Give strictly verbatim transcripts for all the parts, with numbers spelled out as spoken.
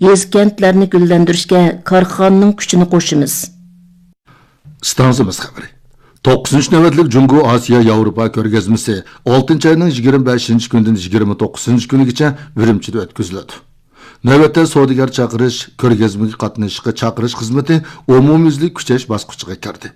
يېزا-كەنتلەرنى گۈللەندۈرۈشكە كارخانىنىڭ كۈچىنى قوشىمىز. ئىستانسىمىز خەۋىرى. توققۇزىنچى نۆۋەتلىك جۇڭگو ئاسىيا ياۋروپا كۆرگەزمىسى ئالتىنچى ئاينىڭ يىگىرمە بەشىنچى كۈنىدىن يىگىرمە توققۇزىنچى كۈنىگىچە ئۈرۈمچىدە ئۆتكۈزۈلىدۇ. نۆۋەتتە سودىگەر چاقىرىش، كۆرگەزمىگە قاتنىشىشقا چاقىرىش خىزمىتى ئومۇميۈزلۈك كۈچەش باسقۇچىغا كىردى.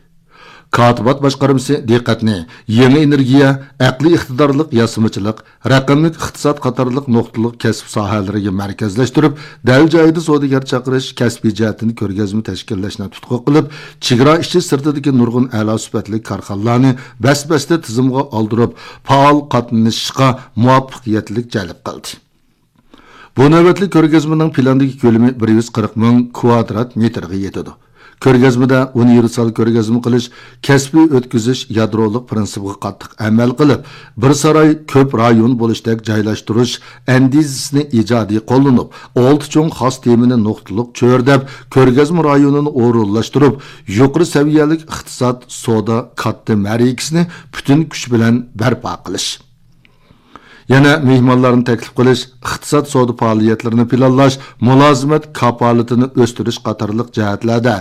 كاتىبات باشقارمىسى دىققەتنى يېڭى ئېنېرگىيە، ئەقلىي ئىقتىدارلىق ياسىمىچىلىق، رەقەملىك ئىقتىساد قاتارلىق نۇقتىلىق كەسىپ ساھەلىرىگە مەركەزلەشتۈرۈپ، دەل جايىدا سودىگەر چاقىرىش، كەسپىي جەھەتتىن كۆرگەزمە تەشكىللەشنى تۇتقا قىلىپ، چېگرا ئىچى سىرتىدىكى نۇرغۇن ئەلا سۈپەتلىك كارخانىلارنى بەس-بەستە تىزىمغا ئالدۇرۇپ، پائال قاتنىشىشقا مۇۋەپپەقىيەتلىك جەلپ قىلدى. بۇ نۆۋەتلىك كۆرگەزمىنىڭ پىلاندىكى كۆلىمى بىر يۈز قىرىق مىڭ كۋادرات مېتىرغا يېتىدۇ. كۆرگەزمىدە ئۇنىۋېرسال كۆرگەزمە قىلىش، كەسپىي ئۆتكۈزۈش يادرولۇق پىرىنسىپىغا قاتتىق ئەمەل قىلىپ، بىر ساراي كۆپ رايون بولۇشتەك جايلاشتۇرۇش ئەندىزىسىنى ئىجادىي قوللىنىپ، ئالتە چوڭ خاس تېمىنى نۇقتىلىق چۆرىدەپ، كۆرگەزمە رايونىنى ئورۇنلاشتۇرۇپ، يۇقىرى سەۋىيەلىك ئىقتىساد، سودا كاتتا مەرىكىسىنى پۈتۈن كۈچ بىلەن بەرپا قىلىش. يەنە مېھمانلارنى تەكلىپ قىلىش، ئىقتىساد، سودا پائالىيەتلىرىنى پىلانلاش، مۇلازىمەت كاپالىتىنى ئۆستۈرۈش قاتارلىق جەھەتلەردە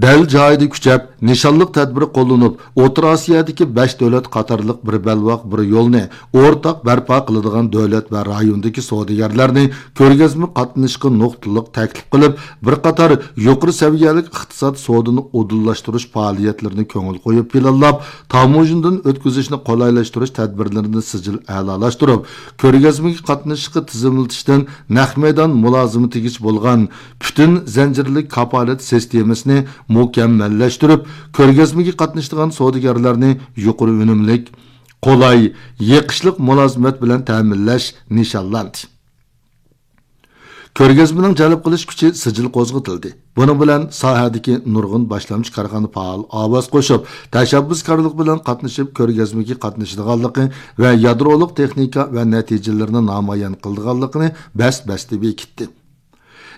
دەل جايىدا كۈچەپ، نىشانلىق تەدبىر قوللىنىپ، ئوتتۇرا ئاسىيادىكى بەش دۆلەت قاتارلىق بىر بەلباغ، بىر يولنى ئورتاق بەرپا قىلىدىغان دۆلەت ۋە رايوندىكى سودىگەرلەرنى كۆرگەزمە قاتنىشىشقا نۇقتىلىق تەكلىپ قىلىپ، بىر قاتار يۇقىرى سەۋىيەلىك ئىقتىساد، سودىنى ئۇدۇللاشتۇرۇش پائالىيەتلىرىنى كۆڭۈل قويۇپ پىلانلاپ، تاموژنىدىن ئۆتكۈزۈشنى قولايلاشتۇرۇش تەدبىرلىرىنى سىجىل ئەلالاشتۇرۇپ، كۆرگەزمىگە قاتنىشىشقا تىزىملىتىشتىن نەق مەيدان مۇلازىمىتىگىچە بولغان پۈتۈن زەنجىرلىك كاپالەت سىستېمىسىنى مۇكەممەللەشتۈرۈپ، كۆرگەزمىگە قاتنىشىدىغان سودىگەرلەرنى يۇقىرى ئۈنۈملۈك، قولاي، يېقىشلىق مۇلازىمەت بىلەن تەمىنلەش نىشانلاندى. كۆرگەزمىنىڭ جەلپ قىلىش كۈچى سىجىل قوزغىتىلدى. بۇنىڭ بىلەن ساھەدىكى نۇرغۇن باشلامچى كارخانا پائال ئاۋاز قوشۇپ، تەشەببۇسكارلىق بىلەن قاتنىشىپ، كۆرگەزمىگە قاتنىشىدىغانلىقى ۋە يادرولۇق تېخنىكا ۋە نەتىجىلىرىنى نامايان قىلىدىغانلىقىنى بەس-بەستە بېكىتتى.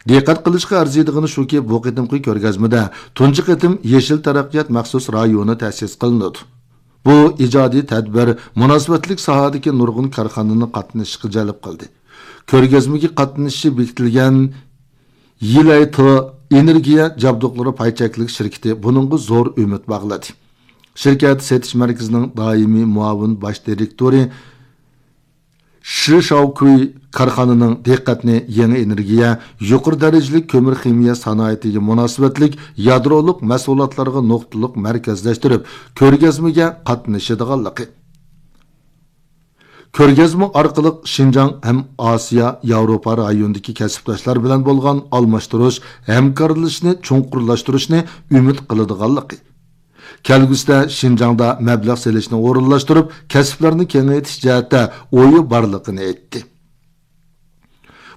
دىققەت قىلىشقا ئەرزىيدىغىنى شۇكى، بۇ قېتىمقى كۆرگەزمىدە تۇنجى قېتىم يېشىل تەرەققىيات مەخسۇس رايونى تەسىس قىلىنىدۇ. بۇ ئىجادىي تەدبىر مۇناسىۋەتلىك ساھەدىكى نۇرغۇن كارخانىنى قاتنىشىشقا جەلپ قىلدى. كۆرگەزمىگە قاتنىشىشى بېكىتىلگەن يىلەيتې ئېنېرگىيە جابدۇقلىرى پاي چەكلىك شىركىتى بۇنىڭغا زور ئۈمىد باغلىدى. شىركەت سېتىش مەركىزىنىڭ دائىمىي مۇئاۋىن باش دىرېكتورى شى شاۋكۈي كارخانىنىڭ دىققەتنى يېڭى ئېنېرگىيە، يۇقىرى دەرىجىلىك كۆمۈر خىمىيە سانائىتىگە مۇناسىۋەتلىك يادرولۇق مەھسۇلاتلارغا نۇقتىلىق مەركەزلەشتۈرۈپ، كۆرگەزمىگە قاتنىشىدىغانلىقى، كۆرگەزمە ئارقىلىق شىنجاڭ ھەم ئاسىيا، ياۋروپا رايونىدىكى كەسىپداشلار بىلەن بولغان ئالماشتۇرۇش، ھەمكارلىشىشنى چوڭقۇرلاشتۇرۇشنى ئۈمىد قىلىدىغانلىقى، كەلگۈسىدە شىنجاڭدا مەبلەغ سېلىشنى ئورۇنلاشتۇرۇپ، كەسىپلەرنى كېڭەيتىش جەھەتتە ئويى بارلىقىنى ئېيتتى.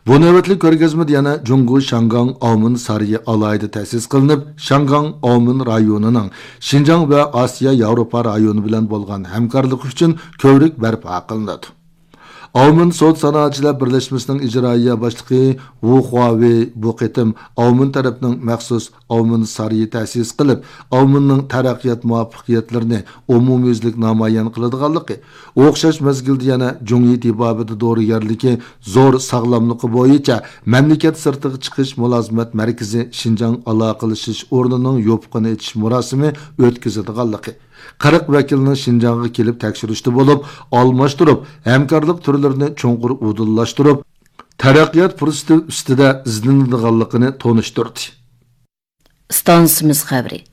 بۇ نۆۋەتلىك كۆرگەزمىدە يەنە جۇڭگو شياڭگاڭ ئاۋمېن سارىيى ئالاھىدە تەسىس قىلىنىپ، شياڭگاڭ ئاۋمېن رايونىنىڭ شىنجاڭ ۋە ئاسىيا ياۋروپا رايونى بىلەن بولغان ھەمكارلىقى ئۈچۈن كۆۋرۈك بەرپا قىلىنىدۇ. ئاۋمېن سودا سانائەتچىلەر بىرلەشمىسىنىڭ ئىجرائىيە باشلىقى ۋۇ خۇاۋېي بۇ قېتىم ئاۋمېن تەرەپنىڭ مەخسۇس ئاۋمېن سارىيى تەسىس قىلىپ، ئاۋمېننىڭ تەرەققىيات مۇۋەپپەقىيەتلىرىنى ئومۇميۈزلۈك نامايان قىلىدىغانلىقى، ئوخشاش مەزگىلدە يەنە جۇڭيى تېبابىتى دورىگەرلىكى زور ساغلاملىقى بويىچە مەملىكەت سىرتىغا چىقىش مۇلازىمەت مەركىزى شىنجاڭ ئالاقىلىشىش ئورنىنىڭ يوپۇقىنى ئېچىش مۇراسىمى ئۆتكۈزىدىغانلىقى، قىرىق ۋەكىلنىڭ شىنجاڭغا كېلىپ تەكشۈرۈشتە بولۇپ، ئالماشتۇرۇپ، ھەمكارلىق تۈرلىرىنى چوڭقۇر ئۇدۇللاشتۇرۇپ، تەرەققىيات پۇرسىتى ئۈستىدە ئىزدىنىدىغانلىقىنى تونۇشتۇردى. ئىستانسىمىز خەۋىرى.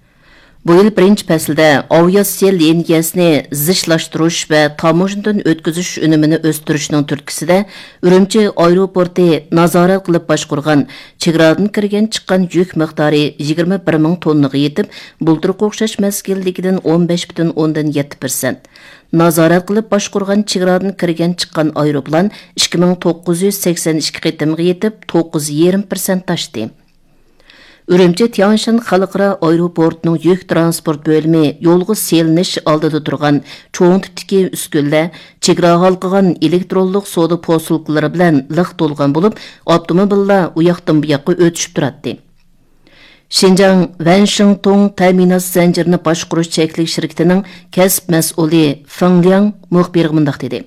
بۇ يىل بىرىنچى پەسىلدە ئاۋىئاتسىيە لىنىيەسىنى زىچلاشتۇرۇش ۋە تاموژنىدىن ئۆتكۈزۈش ئۈنۈمىنى ئۆستۈرۈشنىڭ تۈرتكىسىدە، ئۈرۈمچى ئايروپورتى نازارەت قىلىپ باشقۇرغان چېگرادىن كىرگەن چىققان يۈك مىقدارى يىگىرمە بىر مىڭ توننىغا يېتىپ، بۇلتۇرقى ئوخشاش مەزگىلدىكىدىن ئون بەش پۈتۈن ئوندىن يەتتە پىرسەنت. نازارەت قىلىپ باشقۇرغان چېگرادىن كىرگەن چىققان ئايروپىلان ئىككى مىڭ توققۇز يۈز سەكسەن ئىككى قېتىمغا يېتىپ، توققۇز يېرىم پىرسەنت ئاشتى. ئۈرۈمچى تياڭشان خەلقئارا ئايروپورتىنىڭ يۈك تىرانسپورت بۆلۈمى يولغا سېلىنىش ئالدىدا تۇرغان چوڭ تىپتىكى ئۈسكۈنىلەر، چېگرا ھالقىغان ئېلېكترونلۇق سودا پوسۇلكىلىرى بىلەن لىق تولغان بولۇپ، ئاپتوموبىللار ئۇياقتىن بۇياققا ئۆتۈشۈپ تۇراتتى. شىنجاڭ ۋەنشىڭتۇڭ تەمىنات زەنجىرىنى باشقۇرۇش چەكلىك شىركىتىنىڭ كەسىپ مەسئۇلى فېڭ لياڭ مۇخبىرغا مۇنداق دېدى: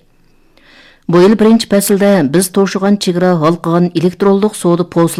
بۇ يىل بىرىنچى پەسىلدە بىز توشۇغان چېگرا ھالقىغان ئېلېكترونلۇق سودا پوسۇل